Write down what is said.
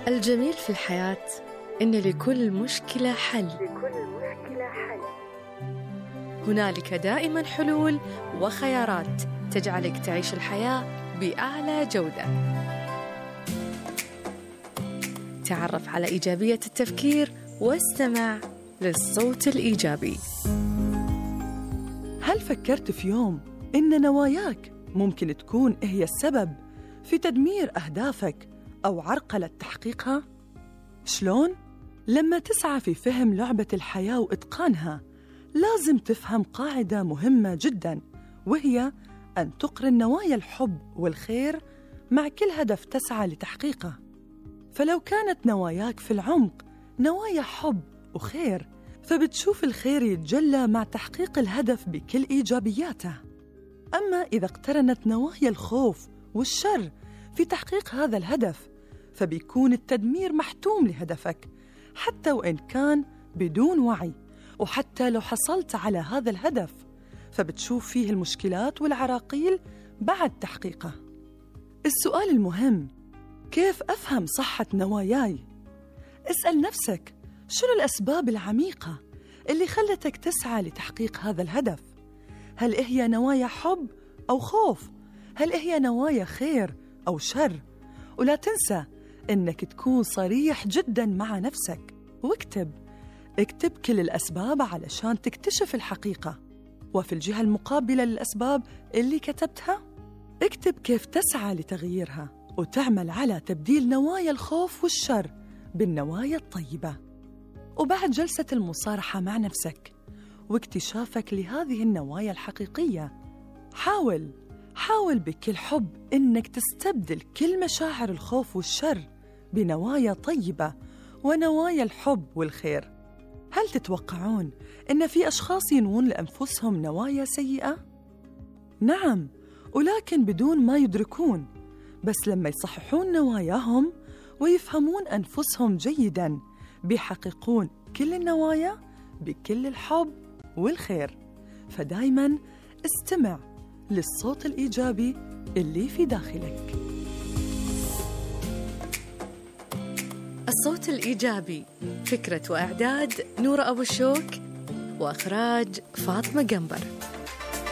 الجميل في الحياة إن لكل مشكلة حل. هنالك دائما حلول وخيارات تجعلك تعيش الحياة بأعلى جودة. تعرف على إيجابية التفكير واستمع للصوت الإيجابي. هل فكرت في يوم إن نواياك ممكن تكون هي السبب في تدمير أهدافك أو عرقلة تحقيقها؟ شلون؟ لما تسعى في فهم لعبة الحياة وإتقانها، لازم تفهم قاعدة مهمة جداً، وهي أن تقرن نوايا الحب والخير مع كل هدف تسعى لتحقيقه. فلو كانت نواياك في العمق نوايا حب وخير، فبتشوف الخير يتجلى مع تحقيق الهدف بكل إيجابياته. أما إذا اقترنت نوايا الخوف والشر في تحقيق هذا الهدف، فبيكون التدمير محتوم لهدفك حتى وإن كان بدون وعي، وحتى لو حصلت على هذا الهدف فبتشوف فيه المشكلات والعراقيل بعد تحقيقه. السؤال المهم: كيف أفهم صحة نواياي؟ اسأل نفسك: شنو الأسباب العميقة اللي خلتك تسعى لتحقيق هذا الهدف؟ هل هي نوايا حب أو خوف؟ هل هي نوايا خير أو شر؟ ولا تنسى إنك تكون صريح جداً مع نفسك، واكتب كل الأسباب علشان تكتشف الحقيقة. وفي الجهة المقابلة للأسباب اللي كتبتها، اكتب كيف تسعى لتغييرها وتعمل على تبديل نوايا الخوف والشر بالنوايا الطيبة. وبعد جلسة المصارحة مع نفسك واكتشافك لهذه النوايا الحقيقية، حاول بكل حب إنك تستبدل كل مشاعر الخوف والشر بنوايا طيبة ونوايا الحب والخير. هل تتوقعون إن في أشخاص ينوون لأنفسهم نوايا سيئة؟ نعم، ولكن بدون ما يدركون. بس لما يصححون نواياهم ويفهمون أنفسهم جيداً، بيحققون كل النوايا بكل الحب والخير. فدايماً استمع للصوت الإيجابي اللي في داخلك. الصوت الإيجابي، فكرة وإعداد نورة أبو الشوك، وإخراج فاطمة قنبر.